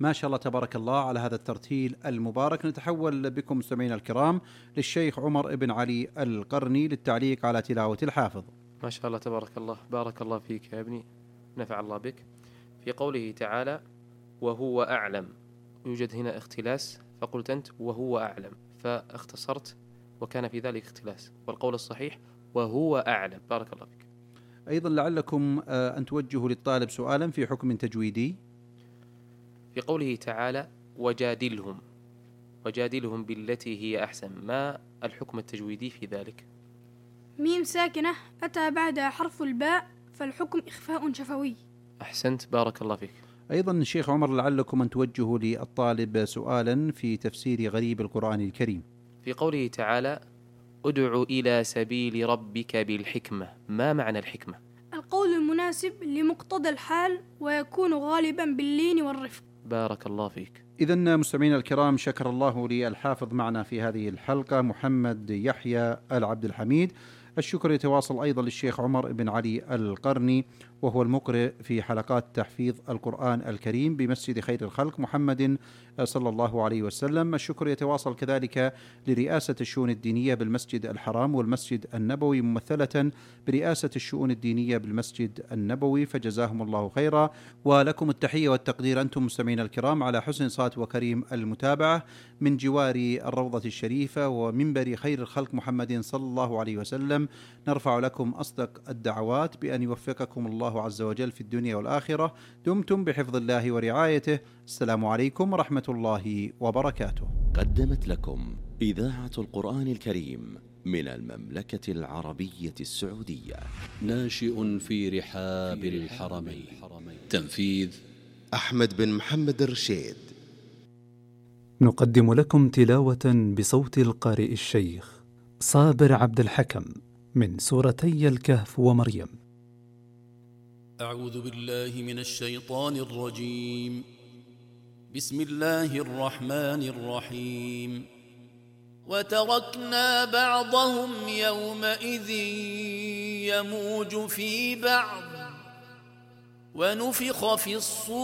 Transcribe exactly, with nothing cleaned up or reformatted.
ما شاء الله تبارك الله على هذا الترتيل المبارك. نتحول بكم مستمعينا الكرام للشيخ عمر بن علي القرني للتعليق على تلاوة الحافظ. ما شاء الله تبارك الله، بارك الله فيك يا ابني، نفع الله بك. في قوله تعالى وهو أعلم، يوجد هنا اختلاس، فقلت أنت وهو أعلم، فاختصرت وكان في ذلك اختلاس، والقول الصحيح وهو أعلم. بارك الله فيك. أيضا لعلكم أن توجهوا للطالب سؤالا في حكم تجويدي. في قوله تعالى وجادلهم، وجادلهم بالتي هي أحسن، ما الحكم التجويدي في ذلك؟ ميم ساكنة أتى بعدها حرف الباء، فالحكم إخفاء شفوي. أحسنت، بارك الله فيك. أيضا الشيخ عمر لعلكم أن توجهوا للطالب سؤالا في تفسير غريب القرآن الكريم. في قوله تعالى ادع إلى سبيل ربك بالحكمة، ما معنى الحكمة؟ القول المناسب لمقتضى الحال ويكون غالبا باللين والرفق. بارك الله فيك. إذن مستمعينا الكرام، شكر الله للحافظ معنا في هذه الحلقة محمد يحيى العبد الحميد. الشكر يتواصل أيضا للشيخ عمر بن علي القرني، وهو المقرئ في حلقات تحفيظ القرآن الكريم بمسجد خير الخلق محمد صلى الله عليه وسلم. الشكر يتواصل كذلك لرئاسة الشؤون الدينية بالمسجد الحرام والمسجد النبوي ممثلة برئاسة الشؤون الدينية بالمسجد النبوي، فجزاهم الله خيرا. ولكم التحية والتقدير أنتم مستمعين الكرام على حسن صوت وكريم المتابعة من جوار الروضة الشريفة ومنبر خير الخلق محمد صلى الله عليه وسلم. نرفع لكم أصدق الدعوات بأن يوفقكم الله عز وجل في الدنيا والآخرة. دمتم بحفظ الله ورعايته. السلام عليكم ورحمة الله وبركاته. قدمت لكم إذاعة القرآن الكريم من المملكة العربية السعودية. ناشئ في رحاب الحرمين. تنفيذ أحمد بن محمد الرشيد. نقدم لكم تلاوة بصوت القارئ الشيخ صابر عبد الحكم من سورتي الكهف ومريم. أعوذ بالله من الشيطان الرجيم. بسم الله الرحمن الرحيم. وتركنا بعضهم يومئذ يموج في بعض ونفخ في الصور